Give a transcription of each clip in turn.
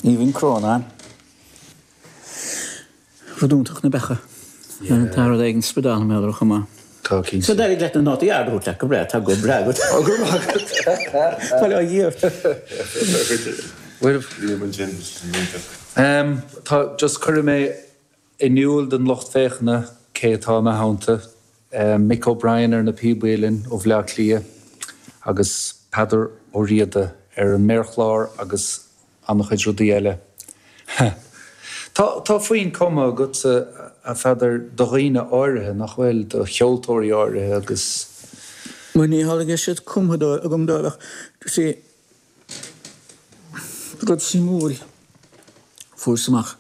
Aoibhinn Crónán. Rud iontach na beacha. Tá rud éigin spadánta mé chomh maith. Tá cinnte. So d'éirigh leat na nótaí arda a thabhairt leat go breá, tá go breá agat. Ó go raibh maith agat. Tá le Dhia. Bhuel, tá, just cuirfidh mé in iúl don lucht féachana cé atá i mo theannta, Mick O'Brien ar na píobaí linn ó Bhaile Átha Cliath agus Peadar Ó Riada ar an méarchlár agus an-chuid rudaí eile. Tá, tá foinn cumtha agatsa, a Pheadair, do dhaoine áirithe, nach bhfuil, do cheoltóirí áirithe agus. Bhuel, ní hamhlaidh go raibh siad cumtha agam dóibh ach, see, rud suimiúil, fuaireas amach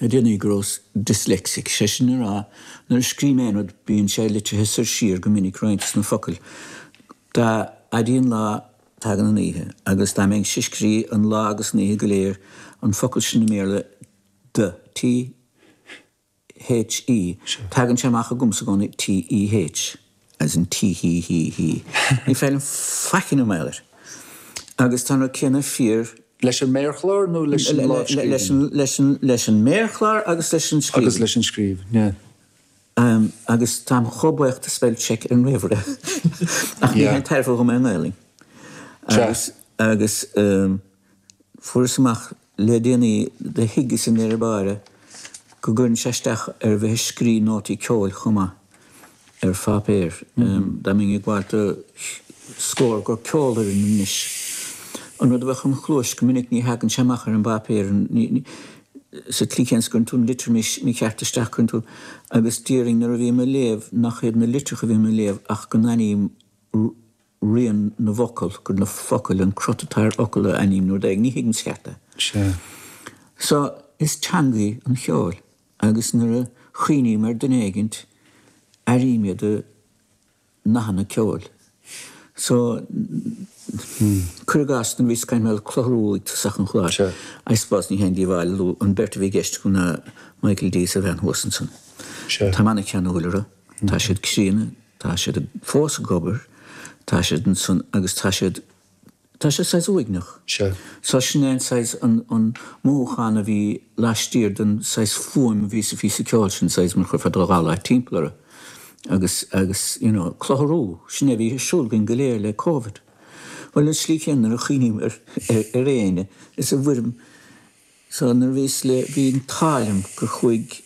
le déanaí go rabhas dyslexic, sé sin le rá, nuair a scríobh mé aon rud bíonn sé litrithe soir siar go minic roinnt de na focail. Dá fhaidí an lá tagann an oíche, agus dá mbeinnse ag scríobh an lá agus an oíche go léir, an focal sin i mBéarla the, T H E, tagann sé amach agamsa i gcónaí T E H, as in tee hee hee hee. Ní féidir liom faic a dhéanamh mar gheall air. Agus tá an rud céanna fíor. Leis an méarchlár nó leis an lámhscríbhinn? Leis an, leis an méarchlár agus leis an scríbhinn. Agus leis an scríbhinn, yeah. Agus táim chomh buíoch do spell check ar an ríomhaire. Ach ní haon tairbhe dhom é i nGaelainn. Agus, agus fuaireas amach le déanaí do thuigeas i ndeireadh báire go gcuireann sé isteach ar bheith ag scrí nótaí ceoil chomh maith ar pháipéar. Dá mbeinn ag gabháil do scór do ceolfhoireann anois, an rud a bheadh im chluais go minic ní thagann sé amach ar an bpáipéar, sa tslí chéanna is go gcuireann tú an litir mícheart isteach, cuireann tú, agus déarfainn nuair a bhím ag léamh nach iad na litreacha a bhím ag léamh ach go n-aithním rian na bhfocal, gur na focail, an crot atá ar fhocal a aithním nó rud éigin, ní thuigim sa cheart é. Sea. So, is teanga í an cheoil agus nuair a chuimhním ar duine éigint, airím iad i nathanna ceoil. So, cuir i gcás, nuair a bhíos ag caint mar gheall ar Clutharú ag tosach an chláir, I suppose ní haon díobháil a lua an bheirt a bhí i gceist agam ná Michael D is a bhean thuas ansan. Táim an-cheanúil orthu, tá siad críonna, Tá siad fós ag obair, tá siad ansan agus tá siad, tá sé saghas uaigneach. Sea. So sin é an saghas, an, an mothúchán a bhí laistiar den saghas fuaim a bhí sa phíosa ceoil sin, saghas mar chuirfeá do dhalláí timpeall orthu agus, agus you know, clutharú, sin é a bhí ar siúl againn go léir le Covid. Bhuel, an slí chéanna nuair a chuimhním ar, ar, ar éinne, is i bhfoirm, so nuair a bhíos le, bhí an t-ádh liom gur chuaigh.